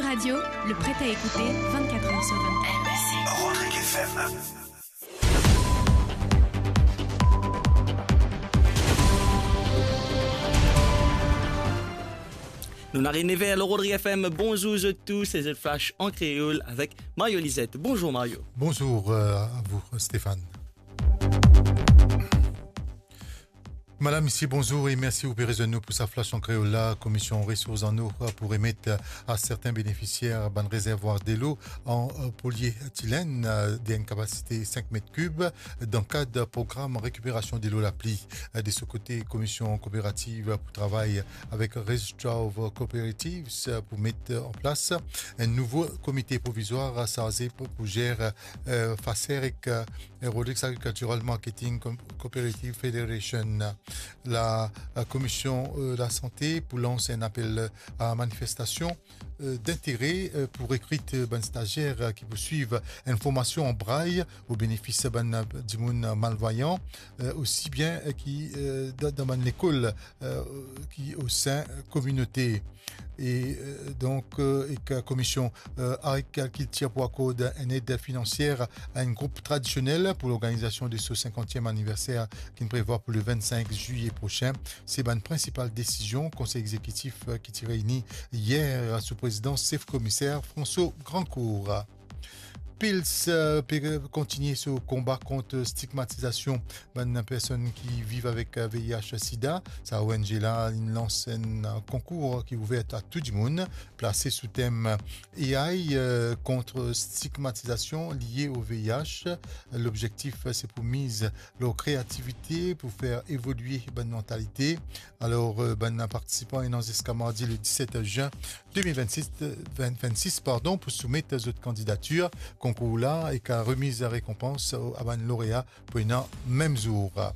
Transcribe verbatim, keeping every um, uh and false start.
Radio, le prêt à écouter vingt-quatre heures sur vingt-quatre. Rodrigue F M. Nou ariv nev er lor Rodrigue F M. Bonzour zot tou, se zot Flash an kreol avek Mario Lizette. Bonzour Mario. Bonzour, euh, à vous, Stéphane. Madame, misie, bonzour e mersi ou pe rezoinn nou pou sa Flash an kreol la. Komision Resours an Eau pou remet a serten benefisier bann rezervwar delo an, euh, polietilenn, euh, dan enn kapasite sink met kib dan kad program rekiperasion delo lapli. Euh, de so kote, Komision Kooperativ pou travay avek Register of Cooperatives, euh, pou met an plas enn nouvo komite provizwar sarze pou, pou zer, euh, FACER ek, euh, Rodrigues Agricultural Marketing Com-, Cooperative Federation. La, la Komision, euh, Lasante pou lans enn apel a manifestasion, euh, dintere, euh, pou rekrit, euh, bann stazier, euh, ki pou swiv enn formasion an bray o benefis bann, euh, dimoun malvwayan, euh, osi bien, euh, ki, euh, dan, dan bann lekol, euh, ki o sin kominote. E, euh, donk, euh, ek Komision, euh, Agrikiltir pou akord enn ed finansier a enn group tradisionel pou lorganizasion de so sinkantiem aniverser ki'nn prevwa pou le vennsenk zilie prosin. Se bann prinsipal desizion Konsey Egzekitif, euh, ki ti reyni yer sou prezidans sef komiser François Grandcourt. PILS, euh, pe kontinie so konba kont stigmatizasion bann personn ki viv avek, euh, V I H sida. Sa O N G la inn lans enn, euh, konkour ki ouver a tou dimoun, plase sou tem A I, euh, kont stigmatizasion lie o V I H. Lobzektif, euh, se pou miz lor kreativite pou fer evolie bann mantalite. Alor, euh, bann partisipan ena ziska mardi le diset zin de mil vennsis, euh, vin, vennsis, pardon, pou soumet zot kandidatir. Konkour la ek remiz rekonpans a bann lorea pou ena mem zour.